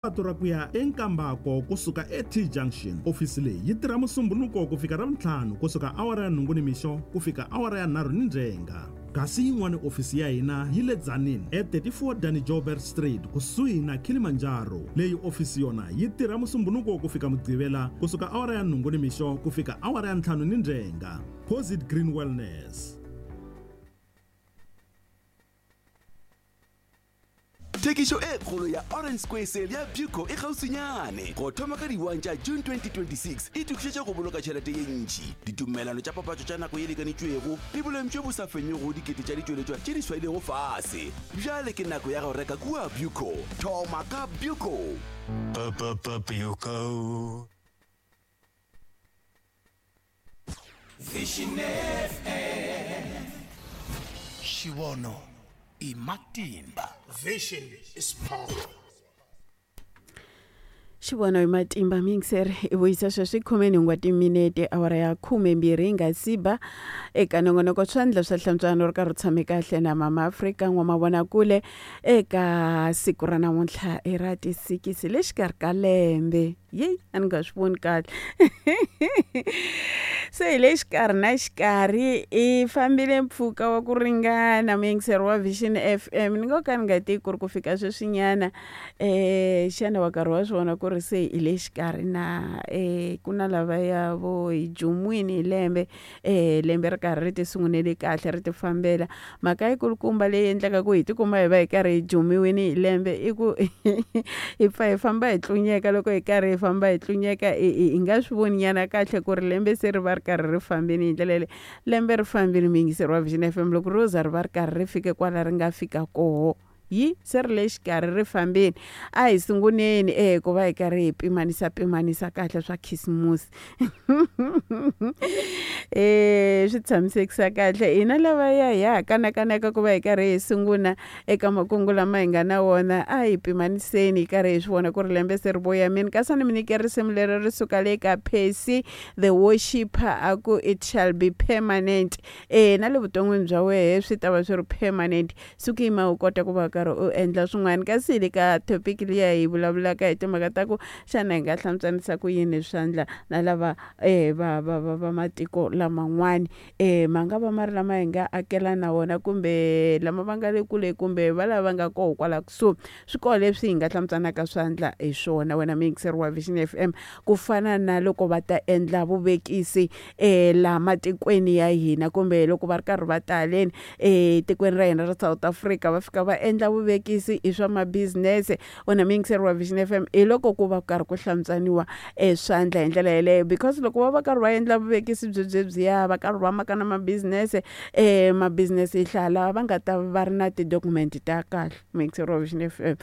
Patu ra ku ya eNkambako kusuka eT-Junction. Ofisi leyi yi tirha Musumbhunuko ku fika Ravuntlhanu kusuka awara ya nhungu nimixo ku fika awara ya nharhu nindzhenga. Kasi yin'wana ofisi ya hina yi le Tzaneen e 34 Danny Joubert Street kusuhi na Kilimanjaro. Leyi ofisi yona yi tirha Musumbhunuko ku fika Mugqivela kusuka awara ya nhungu nimixo ku fika awara ya ntlhanu nindzhenga. Posit Green Wellness. Thekišo e kgolo ya Orange Square Sale ya Buco e kgauswinyane. Go thoma ka di-1 tša June 2026, itokišetše go boloka tšhelete ye ntši, ditumelelano tša papatšo tša nako ye lekanetšwego le boleng bjo bo sa fenyego go dikete tša ditšweletšwa tše di swailego fase. Bjale ke nako ya go reka kua Buco. Thoma ka Buco! B-b-b-Buco. Vision FM. Xivono i matimba. Vision is power. Xivono hi matimba mixer i vuyisa sweswi 18 wa timinete awara ya 12 yi nga si ba eka nongonoko swandla swa hlantswano ri karhi u tshame kahle na mama Afrika n'wamavonakule eka siku ra namuntlha i ra tisikisi le xikarhi ka lembe yeyi a ni nga swi voni kahle se hi le xikarhi na xikarhi i fambile mpfhuka wa ku ringana muyingiseri wa Vision F_M ni ngo ka ni nga tivi ku ri ku fika sweswinyana xana wa karhi wa swi vona ku ri se hi le xikarhi na ku na lavaya vo hi jumwini hi lembe lembe ri karhi ri ti sungunele kahle ri ti fambela mhaka yikulukumba leyi endlaka ku hi tikuma hi va hi karhi hi jumiwini hi lembe i ku hi pfa hi famba hi tlunyeka loko hi karhi hi famba hi tlunyeka hi nga swi voni nyana kahle ku ri lembe se ri va ri karhi ri fambini hi ndlela yaleyo lembe ri fambile muyingiseri wa Vision F_M loko ro za ri va ri karhi ri fike kwala ri nga fika koho yi se ri le xikarhi ri fambile a hi sunguleni e ku va hi karhi hi pimanisa pimanisa kahle swa khisimusi swi tshamisekisa kahle hina lava ya hi ha kanakanaka ku va hi karhi hi sungula eka makungu lama hi nga na wona a hi pimaniseni hi karhi hi swi vona ku ri lembe se ri voyamini kasi a ni mi nyike risimu leri ri suka le ka Percy the worshipper a ku it shall be permanent e na le vuton'wini bya wehe swi ta va swi ri permanent suku yima u kota ku va karhi u endla swin'wana kasi hi le ka topic liya hi vulavulaka hi timhaka ta ku xana hi nga hlantswanisa ku yini swandla na lava va va va va matiko laman'wani ma nga va ma ri lama hi nga akela na wona kumbe lama va nga le kule kumbe va lava nga koho kwala kusuhi swi koho leswi hi nga hlantswanaka swandla hi swona wena muyingiseri wa Vision F_M ku fana na loko va ta endla vuvekisi laha matikweni ya hina kumbe loko va ri karhi va ta haleni etikweni ra hina ra South Africa va fika va endla vuvekisi hi swa ma-business wena muyingiseri wa Vision F_M hi loko ku va karhi ku hlantswaniwa swandla hi ndlela yeleyo because loko va va karhi va endla vuvekisi byo byebyiya va karhi va maka na ma-business ma-business hi hlaya lava va nga ta va ri na ti-document ta kahle muyingiseri wa Vision F_M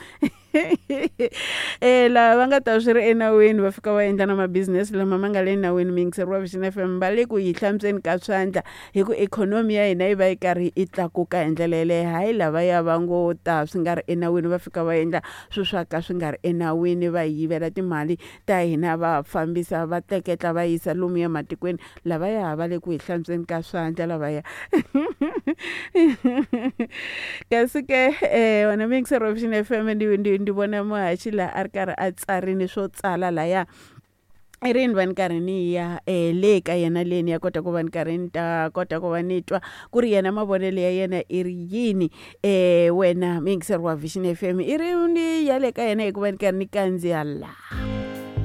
lava va nga ta swi ri enawini va fika va endla na ma-business lama ma nga le nawini muyingiseri wa Vision F_M va le ku yi hlantsweni ka swandla hi ku ikhonomi ya hina yi va yi karhi yi tlakuka hi ndlela yeleyo hayi lavaya va ngo ta swi nga ri enawini va fika va endla swilo swa ka swi nga ri enawini va hi yivela timali ta hina va fambisa va tleketla va yisa lomuya matikweni lavaya va le ku hi hlantsweni ka swandla lavaya kasi ke wena muyingiseri wa Vision F_M ndi ndi ndi vona muhaxi laha a ri karhi a tsarini swo tsala laya i ri ni va ni karhi ni ya le ka yena le ni ya kota ku va ni karhi ni ta kota ku va ni twa ku ri yena mavonelo ya yena i ri yini wena muyingiseri wa Vision F_M i ri ni ya le ka yena hikuva ni karhi ni kandziya la.